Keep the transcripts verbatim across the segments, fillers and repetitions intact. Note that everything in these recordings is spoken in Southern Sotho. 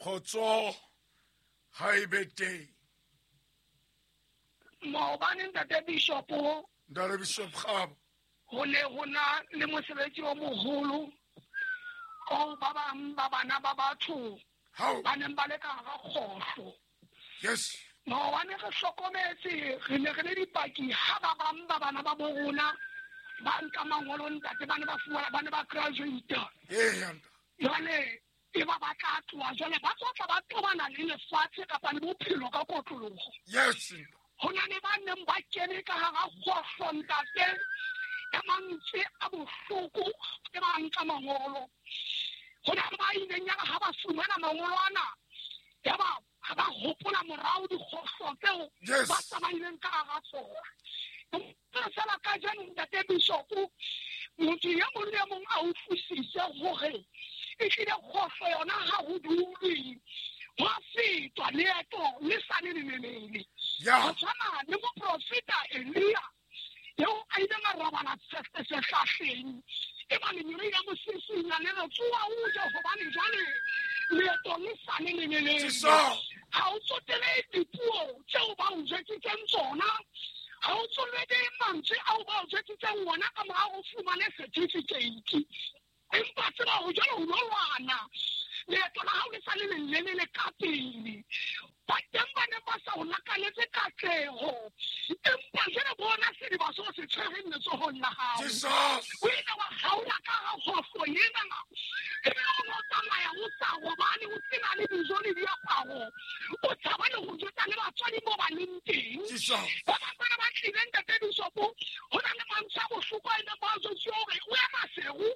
Khotso ha e be teng. Maobane ntate Bishop, Ntate Bishop Kgabo, ho ne ho na le mosebetsi o moholo o ba bang ba bana ba batho ba neng ba le ka hara kgohlo. Yes. Maobane re hlokometse, re ne re le dipaki ha ba bang ba bana ba bo rona ba nka mangolo ntate, ba ne ba fuwa, ba ne ba graduate. Ee, jwale e ba ba tla tloha, jwale ba tlo tla ba tobana le lefatshe kapa le bophelo ka kotloloho. Yes. Ho na le ba neng ba kene ka hara kgohlo ntate, ka mantswe a bohloko ke ba nka mangolo. Ho na le ba ileng ya ha ba fumana mangolo ana, ya ba ha ba hopola morao dikgohlo tseo ba tsamaileng ka hara tsona. Fela kajeno ntate Bishop, motho e mong le e mong a utlwisise hore ehlile kgohlo yona ha ho dulwe, ho a fetwa leeto le sa le lelelele. Ho tshwana le moprofeta Elia eo a ileng a robala sehlahleng, e ba lengeloi la mo sisinya le re tsoha o je, hobane jwale leeto le sa le lelelele. Ha o tsotele dipuo tseo ba o jwetsitseng tsona, ha o tsotele mantswe ao ba o jwetsitseng ona ka mora o fumane certificate. Empa tseba ho jwale ho lo lwana, leeto la hao le sa le lelelele ka pele. Ba teng ba ne ba sa o lakaletse katleho, empa jwale bona sediba seo se tshwereng letsohong la hao. O ile wa kgaola ka hara kgohlo ena, ebile o no tsamaya o sa robale, o sena le dijo le diaparo, o tshaba le ho jwetsa le batswadi moo ba leng teng. Ba bang bana ba tlile ntate Bishop, ho na le mantswe a bohloko a ileng ba a jwetsuwa hore o ya Maseru,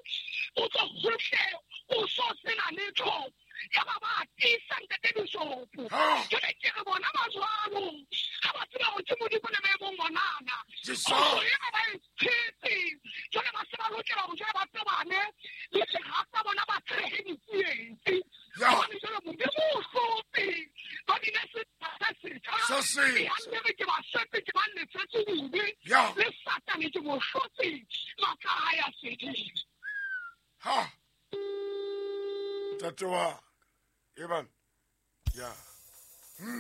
o tswe hohle, o so sena letho. Ya ba ba tiisa ntate Bishop. Jwale ke re bona ba jwalo, ha ba tseba hore ke Modimo le maemong onana. Kgohlo ena ba e tshetse, jwale ba se ba lokela hore jwale ba tobane le sera sa bona, ba tshehe ditsietsi. Hobane jwale Modimo o hlotse, ba bile setjha se setjha. E hantle ke ba setse, ke ba lefetse dibe, le Satane ke mo hlotse, matla a hae a fedile. Ha. Ntate wa Evan. Ya.